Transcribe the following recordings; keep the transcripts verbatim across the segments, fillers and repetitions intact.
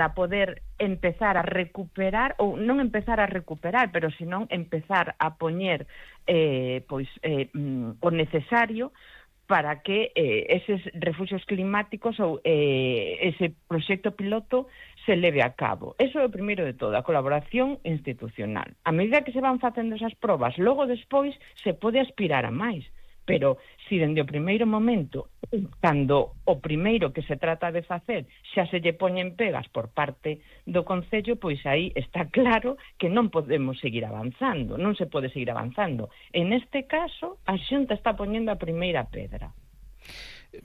para poder empezar a recuperar, ou non empezar a recuperar, pero senón empezar a poñer eh, pois, eh, o necesario para que eh, eses refuxios climáticos ou eh, ese proxecto piloto se leve a cabo. Eso é o primeiro de todo, a colaboración institucional. A medida que se van facendo esas probas, logo despois se pode aspirar a máis. Pero se dende o primeiro momento, cando o primeiro que se trata de facer xa se lle poñen pegas por parte do Concello, pois aí está claro que non podemos seguir avanzando, non se pode seguir avanzando. En este caso, a Xunta está poñendo a primeira pedra.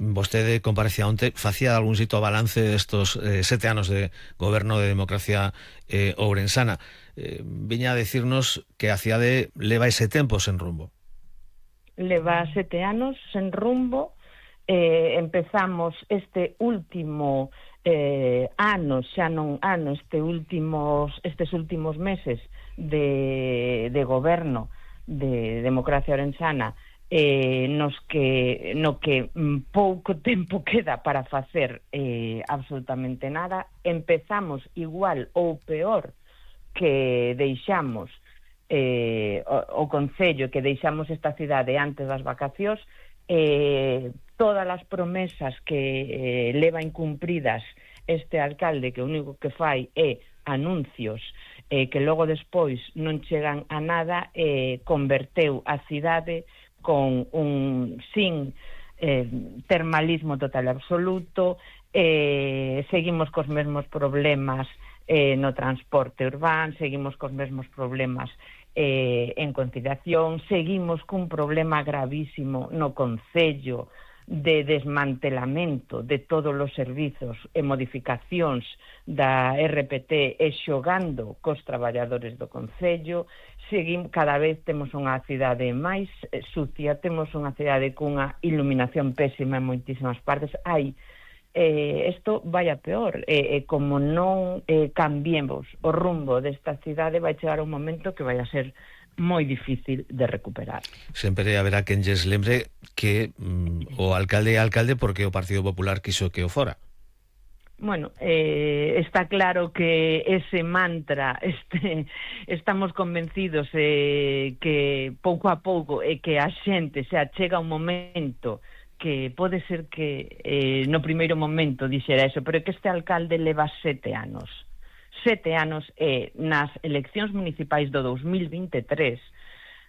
Vostede comparecía onte, facía algún xito balance destos eh, sete anos de goberno de democracia eh, ourensana. Eh, viña a decirnos que a cidade leva ese tempo sen rumbo. Leva sete anos sen rumbo, eh, empezamos este último eh, ano, xa non ano, este últimos, estes últimos meses de, de goberno de democracia ourensana, eh, nos que, no que pouco tempo queda para facer eh, absolutamente nada. Empezamos igual ou peor que deixamos Eh, o, o Concello, que deixamos esta cidade antes das vacacións. Eh, todas as promesas que eh, leva incumpridas este alcalde, que o único que fai é anuncios eh, que logo despois non chegan a nada, eh, converteu a cidade con un sin eh, termalismo total e absoluto. Eh, seguimos cos mesmos problemas Eh, no transporte urbano, seguimos cos mesmos problemas eh, en conciliación, seguimos cun problema gravísimo no Concello de desmantelamento de todos os servizos e modificacións da R P T e xogando cos traballadores do Concello. Seguimos, cada vez temos unha cidade máis eh, sucia, temos unha cidade cunha iluminación pésima en moitísimas partes. Hai Eh, isto vai a peor, eh, eh, como non eh, cambiemos o rumbo desta cidade, vai chegar un momento que vai a ser moi difícil de recuperar. Sempre haberá quen lles lembre que mm, o alcalde é alcalde porque o Partido Popular quiso que o fora. Bueno, eh, está claro que ese mantra, este, estamos convencidos eh, que pouco a pouco e eh, que a xente se achega un momento que pode ser que eh, no primeiro momento dixera eso, pero que este alcalde leva sete anos. Sete anos e eh, nas eleccións municipais do dos mil vinte e tres,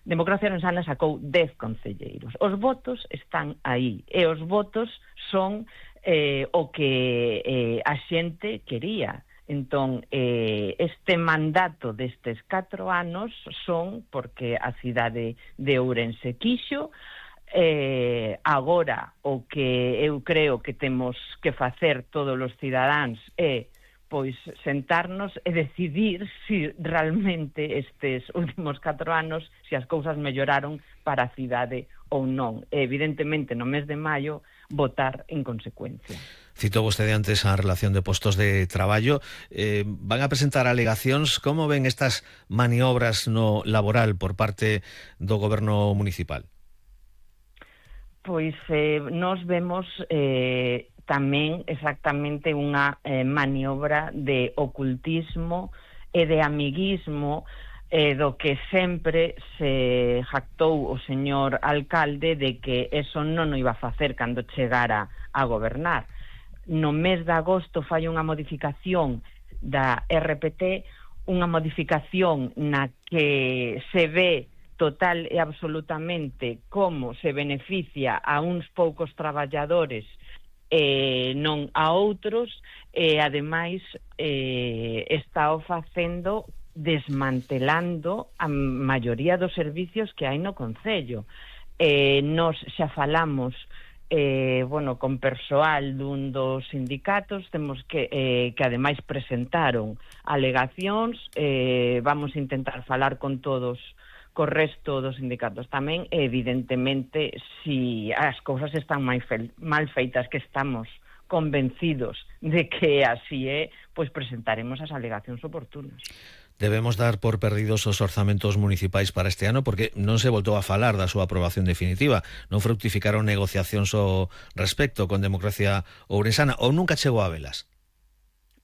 Democracia Ourensana sacou dez concelleiros. Os votos están aí, e os votos son eh, o que eh, a xente quería. Entón, eh, este mandato destes catro anos son porque a cidade de Ourense quixo. Eh, agora o que eu creo que temos que facer todos os cidadáns é pois sentarnos e decidir se realmente estes últimos catro anos se as cousas melloraron para a cidade ou non. E, evidentemente, no mes de maio votar en consecuencia. Cito vostede antes a relación de postos de traballo. Eh, van a presentar alegacións. Como ven estas maniobras no laboral por parte do goberno municipal? Pois eh, nos vemos eh, tamén exactamente unha eh, maniobra de ocultismo e de amiguismo eh, do que sempre se jactou o señor alcalde de que eso non o iba a facer cando chegara a gobernar. No mes de agosto fai unha modificación da R P T, unha modificación na que se ve total e absolutamente como se beneficia a uns poucos traballadores e eh, non a outros, e ademais eh, está o facendo desmantelando a maioría dos servicios que hai no Concello. Eh, nos xa falamos eh, bueno, con persoal dun dos sindicatos, temos que eh, que ademais presentaron alegacións, eh, vamos a intentar falar con todos co resto dos sindicatos tamén, evidentemente, si as cousas están mal feitas, que estamos convencidos de que así é, pois presentaremos as alegacións oportunas. Debemos dar por perdidos os orzamentos municipais para este ano porque non se voltou a falar da súa aprobación definitiva, non fructificaron negociacións ao respecto con Democracia Ourensana, ou nunca chegou a velas?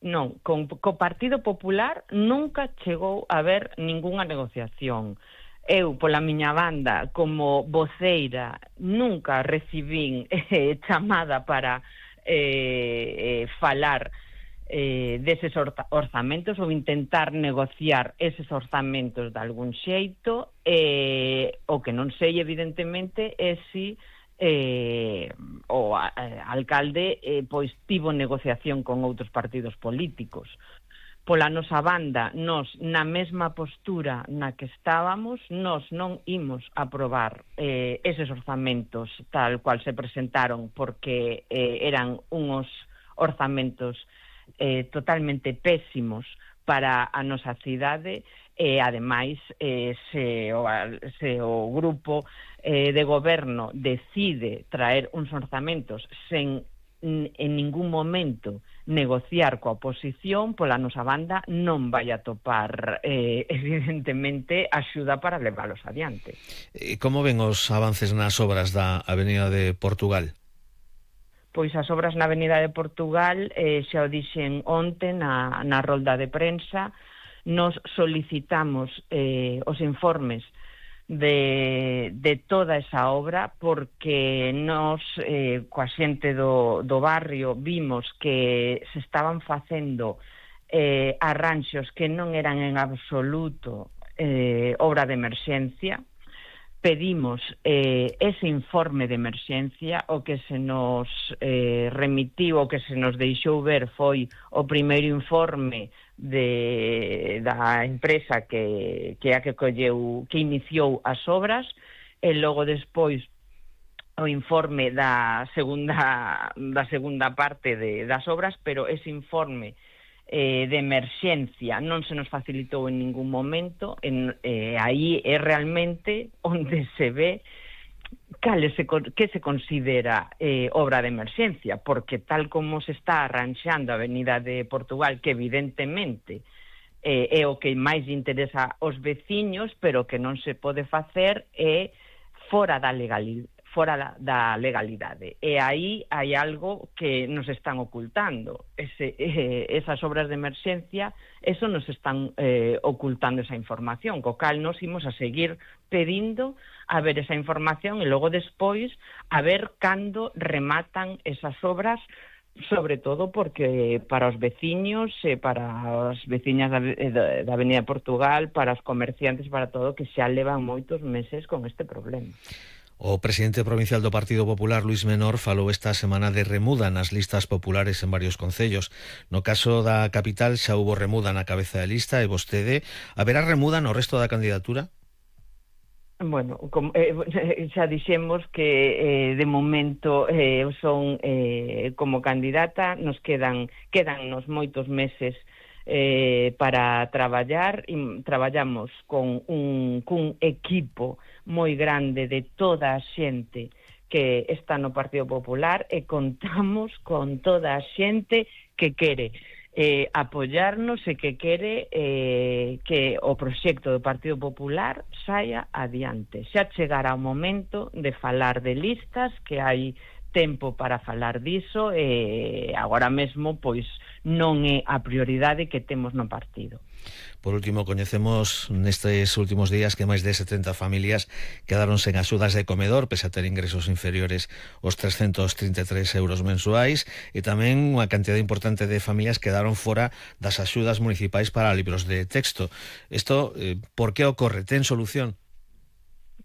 non, con, co Partido Popular nunca chegou a haber ningunha negociación. Eu, pola miña banda, como voceira, nunca recibín eh, chamada para eh, eh, falar eh, deses orzamentos ou intentar negociar eses orzamentos de algún xeito. Eh, o que non sei, evidentemente, é si eh, o a, a, alcalde eh, pois tivo negociación con outros partidos políticos. Pola nosa banda, nos na mesma postura na que estábamos, nos non imos aprobar eh, eses orzamentos tal cual se presentaron, porque eh, eran unos orzamentos eh, totalmente pésimos para a nosa cidade, e ademais eh, se, o, se o grupo eh, de goberno decide traer uns orzamentos sen en ningún momento negociar coa oposición, pola nosa banda non vai a topar eh, evidentemente axuda para leválos adiante. Como ven os avances nas obras da Avenida de Portugal? Pois as obras na Avenida de Portugal, eh, xa o dixen onte na, na rolda de prensa, nos solicitamos eh, os informes de, de toda esa obra, porque nos, eh, coa xente do, do barrio, vimos que se estaban facendo eh, arranxos que non eran en absoluto eh, obra de emerxencia. Pedimos eh, ese informe de emerxencia. O que se nos eh, remitiu, o que se nos deixou ver foi o primeiro informe de, da empresa que, que a que colleu, que iniciou as obras, e logo despois o informe da segunda, da segunda parte de, das obras, pero ese informe Eh, de emerxencia non se nos facilitou en ningún momento. En, eh, aí é realmente onde se ve cal se, que se considera eh, obra de emerxencia, porque tal como se está arranxando a Avenida de Portugal, que evidentemente eh, é o que máis interesa aos veciños, pero que non se pode facer é fora da legalidade, fora da legalidade. E aí hai algo que nos están ocultando. Ese, eh, esas obras de emerxencia, eso nos están eh, ocultando esa información, co cal nos imos a seguir pedindo a ver esa información, e logo despois a ver cando rematan esas obras, sobre todo porque para os veciños e para as veciñas da, da, da Avenida de Portugal, para os comerciantes, para todo, que xa levan moitos meses con este problema. O presidente provincial do Partido Popular, Luís Menor, falou esta semana de remuda nas listas populares en varios concellos. No caso da capital xa hubo remuda na cabeza de lista, e vostede, haberá remuda no resto da candidatura? Bueno, como, eh, xa dixemos que eh, de momento eh, son eh, como candidata, nos quedan quedannos moitos meses eh, para traballar, e traballamos con un, cun equipo moi grande de toda a xente que está no Partido Popular, e contamos con toda a xente que quere eh, apoyarnos e que quere eh, que o proxecto do Partido Popular saia adiante. Xa chegará o momento de falar de listas, que hai tempo para falar diso, e agora mesmo pois non é a prioridade que temos no partido. Por último, coñecemos nestes últimos días que máis de setenta familias quedaron sen axudas de comedor, pese a ter ingresos inferiores aos trescentos trinta e tres euros mensuais, e tamén unha cantidad importante de familias quedaron fora das axudas municipais para libros de texto. Isto, eh, por que ocorre? Ten solución?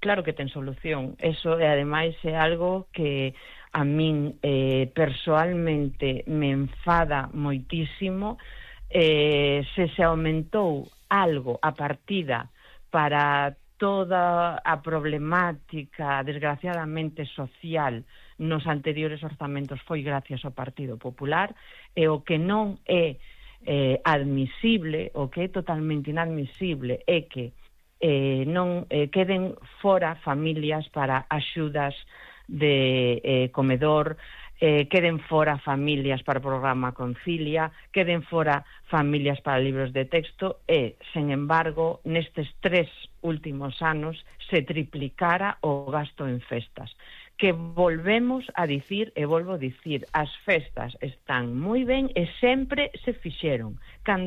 Claro que ten solución. Eso, e ademais, é algo que a min eh, persoalmente me enfada moitísimo. Eh, se se aumentou algo a partida para toda a problemática desgraciadamente social nos anteriores orzamentos, foi gracias ao Partido Popular, e o que non é eh, admisible, o que é totalmente inadmisible, é que eh, non eh, queden fora familias para axudas de eh, comedor, eh, queden fora familias para o programa Concilia, queden fora familias para libros de texto, e, sen embargo, nestes tres últimos anos se triplicara o gasto en festas. que volvemos a dicir, e volvo a dicir, as festas están moi ben e sempre se fixeron. Cando